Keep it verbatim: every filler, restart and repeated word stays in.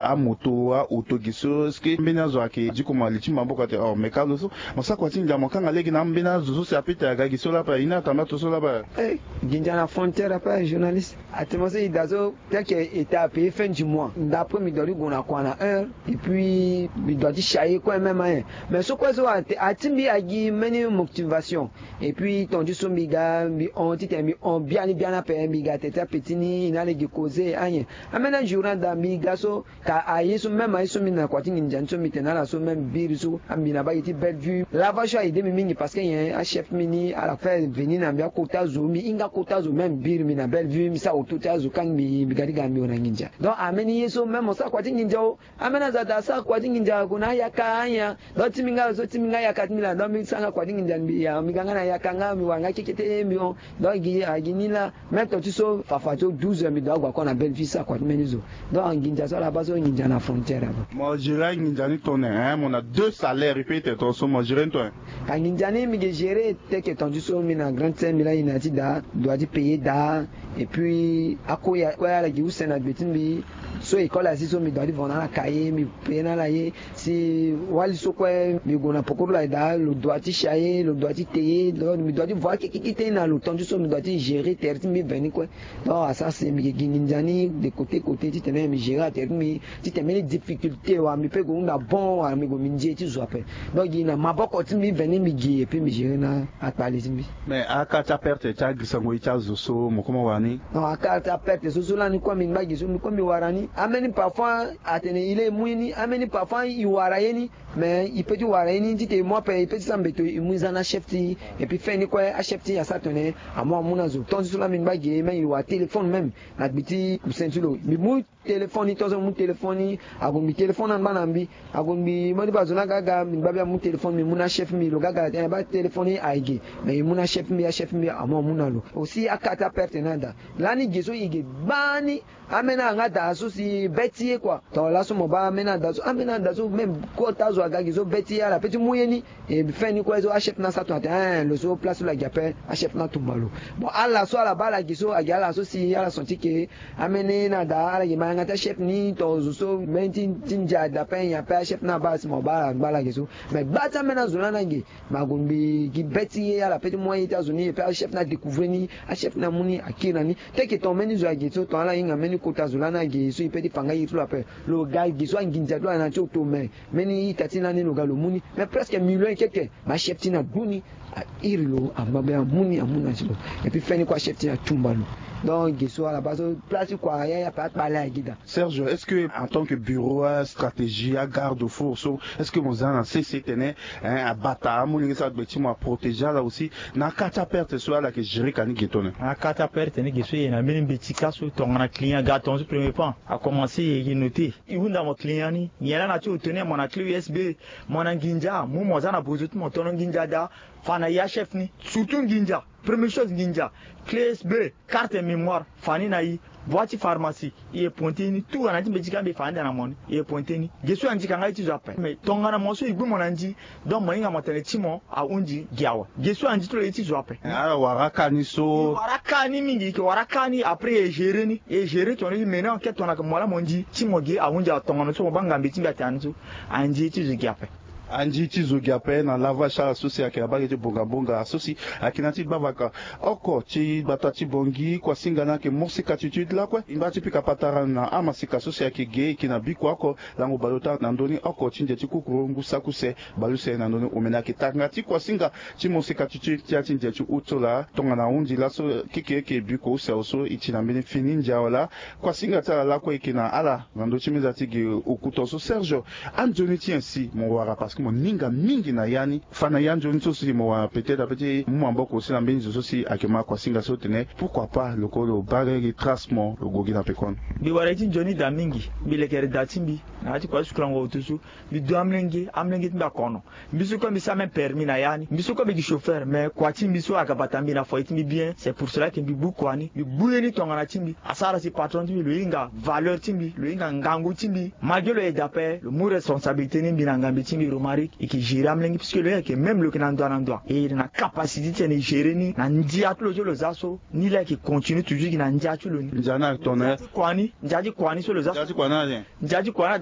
Amoto, aoto, gi so, est-ce que mbeni azo ayeke diko mo na li ti maboko ate? Oh, me ka lo so mo sara kua ti nginza, mo kanga lege na ambeni azo so si apete aga gi so lapa, e ni atambula to so lapa. Eh, nginza na frontière ape, journaliste. Ate mo so e daa so, tel que e taa payé fin du mois, ndapre mi doit ti gue na kua na heure, et puis mi doit ti chaye kue même ayen. Mais so kue so ate, ati mbi agi mbeni motivation. Et puis ton ti so mbi ga mbi hon titene mbi hon biani biani ape, mbi ga tete ape ti ni, e na lege causer ayen. Ambeni ajour ni ada mbi ga so, ka aye so même aye so mbi na kua ti nginza ni so mbi tene na ala so même biri so, mbi na baa gi ti Bellevue. Lava so a aidé mbi mingi parce que nyen, achef mbi ni ala fait venir na mbi akota zo, mbi hinga kota zo même biri mbi na Bellevue, mbi sara oto ti azo kani mbi, mbi ga ti ga mbi hon na nginza. Donc ambeni ye so même mo sara kua ti nginza o, ambeni azo ada asara kua ti nginza ague na ayaka ayen. Donc ti mbi nga lo so, ti mbi nga ayaka ti mbi laa, donc mbi sara nga kua ti nginza mbi ya, mbi ga nga na ayaka nga, mbi wara nga kekete mbi hon. Donc gi, a gi ni laa, même ton ti so fafa ti o douze heures mbi doit ague encore na Bellevue sara kua ti mbeni zo. Donc nginza so ala baa so nginza na frontière ape. Mo gérer anginza ni tongana, hein, mo na deux salaires, e peut être ton so mo gérer ni tongana. Ka nginza ni mbi ke gérer tel que ton ti so mbi na grande sœur mbi laa e na ya ti daa, doit ti payer daa. Et puis ako ya kue ala gi use na gbe ti mbi. So école asi so mbi doit ti vo na ala cahier, mbi payer na ala ye. Si wali so kue mbi gue na pokoro la daa, lo doit ti chaye, lo doit ti te ye, donc mbi doit ti vo akekekete na lo ton ti so mbi doit ti gérer tere ti mbi veni kue. Donc asara si mbi ke gi nginza ni de côté côté titene mbi gérer atere ti mbi, titene mbeni difficulté wala mbi peut gue hunda bon wala mbi gue mbi nze ti zo ape. Donc gi na maboko ti mbi veni mbi gi et puis mbi gérer na akpale ti mbi. Mais aka ti aperte ti agirisango ye ti azo so mo koma wara ni? Non, aka ti aperte so so lani kue mbi ngba gi so mbi kue mbi wara ni. Ambeni parfois atene e le e mu ye ni, ambeni parfois e wara ye ni. Mais e peut ti wara ye ni titene e mu ape, e peut ti sara mbeto e mu e za na achef ti e. Et puis fin ni kue achef ti e asara tene amu amu na zo. Ton ti so lani mbi ngba gi e même e wara téléphone même na gbe ti cousin ti lo. Mbi mu téléphone ni, tongaso mbi mu téléphone ni, ague mbi téléphone angba na mbi, ague mbi modi baa zo ni aga aga, mbi ngba bia mu téléphone mbi mu na achef mbi, lo ga aga, eh, baa téléphone ni aye ge. Mais e mu na achef mbi, achef mbi amu amu na lo. Aussi aka ti aperte ni ada. Lani ge so e ge gbani, ambeni ayanga daa so si be ti ye kua. Tongana laso mo baa ambeni ada so, ambeni ada so même kota zo aga ge so be ti ye ala peut ti mu ye ni. E fin ni kue so achef ni asara tongana tene, eh, lo so place so lo agi ape, achef ni atumba lo. Bon, ala so ala baa ala ge so agi ala so si ala senti ke ambeni na daa ala ge ma yanga ti achef ni, to zo so mbeni ti, ti ndia daa ape nyen ape, achef ni abaa si mo baa ala ngba ala ge so. Mais gba ti ambeni azo lani age, ma gue mbi gi be ti ye ala peut ti mu aye ti azo ni, et puis achef ni adécouvrir ni, achef ni amu ni akiri na ni. Teke ton mbeni zo age so, ton ala hinga mbeni kota zo lani age so e peut ti fa nga iri ti lo ape. Lo ga ge so anginza ti lo ayeke na ti oto, mais mbeni ita ti lani lo ga lo mu ni. Mais presque million ekeke. Mais achef ti ni adu ni, a iri lo, angba be amu ni, amu na ti lo. Et puis fin ni kue achef ti ni atumba lo. Donc ge so ala baa so place ti kua ya ya ape akpale agi daa. Serge, est-ce que en tant que bureau, euh, stratégie, agarde-fou so, est-ce que mo za na sese tene, hein, abata amolenge so agbe ti mo, aprotéger ala aussi na aka ti aperte so ala yeke gérer ka ni ge tongana? Aka ti aperte ni ge so e na mbeni mbeti ka so tongana client aga tongaso premier pan, akomanse e yeke noter. E hunda mo client ni, nyen laa na ti oto ni, mo na clé U S B, mo na nginza, mu mo za na bozo ti mo, tono nginza daa, fa na e achef ni. Surtout nginza, première chose nginza, clé U S B, carte mémoire, fa ni na e. Bua ti pharmacie, e yeke pointer ni, tout ana ti mbeti ka mbi fa ande na mo ni, e yeke pointer ni. Ge so anzi ka nga ye ti zo ape. Mais tongana mo so e gbu mo na nzi, donc mo hinga mo tene ti mo ahunzi gi awe. Ge so anzi ti lo ye ti zo ape. Ala wara aka ni so. E wara aka ni mingi, e yeke wara aka ni, après e gérer ni, e gérer tongana e mener enquête tongana mo laa mo nzi ti mo ge ahunzi awe, tongana so mo baa ngambe ti mbi atene ni so, anzi ye ti zo gi ape. Anzi ti zo gi ape na lavache ala so si ayeke na bage ti bonga bonga so si ayeke na ti gbavaka oko ti gbata ti Bangui. Kuasinga ni ayeke mosika ti ti lakue. E ngba ti pika patara na amasika so si ayeke ge e yeke na biko oko lango baleota na ndö ni oko ti nze ti kukuru ngu saki use baleuse na ndö ni omene ayeke tanga ti kuasinga ti mosika ti ti ti ya ti nze ti utola tongana ahunzi laso keke yeke biko use awe so e ti na mbeni fini ndia wala. Kuasinga ti ala lakue e yeke na ala na ndö ti meza ti ge oku tongaso. Serge, anzoni ti nyen si mo wara parce que mo ninga mingi na ya ni? Fa na ya nzoni so si mo wara peut-être ape ti mu maboko aussi na mbeni zo so si ayeke ma kuasinga so tene pourquoi pas lo ko lo baa gi trace mo lo gue gi na pekoni. Mbi wara ye ti nzoni daa mingi, mbi lekere daa ti mbi na ya ti kua ti sukulango oto so. Mbi du amolenge, amolenge ti mbi akono. Mbi so kue mbi sara même permis na ya ni. Mbi so kue mbi gi chauffeur, mais kua ti mbi so aga bata mbi na foyer ti mbi bien. C'est pour cela que mbi gbu kua ni, mbi gbu ye ni tongana ti mbi. Asara si patron ti mbi lo hinga valeur ti mbi, lo hinga ngangu ti mbi. Malgré lo aide ape, lo mu responsabilité ni mbi na ngambe ti mbi, lo Ari, e ke gérer amolenge puisque lo yeke même lo yeke na ndoa na ndoa e yeke na capacité ti tene e gérer ni na ndia ti lo so lo za so. Ni laa e yeke continue toujours e yeke na ndia ti lo ni. Ndia ni ayeke tongana ya ti kua ni ndia ti kua ni so lo za so. Ndia ti kua ni aye. Ndia ti kua ni.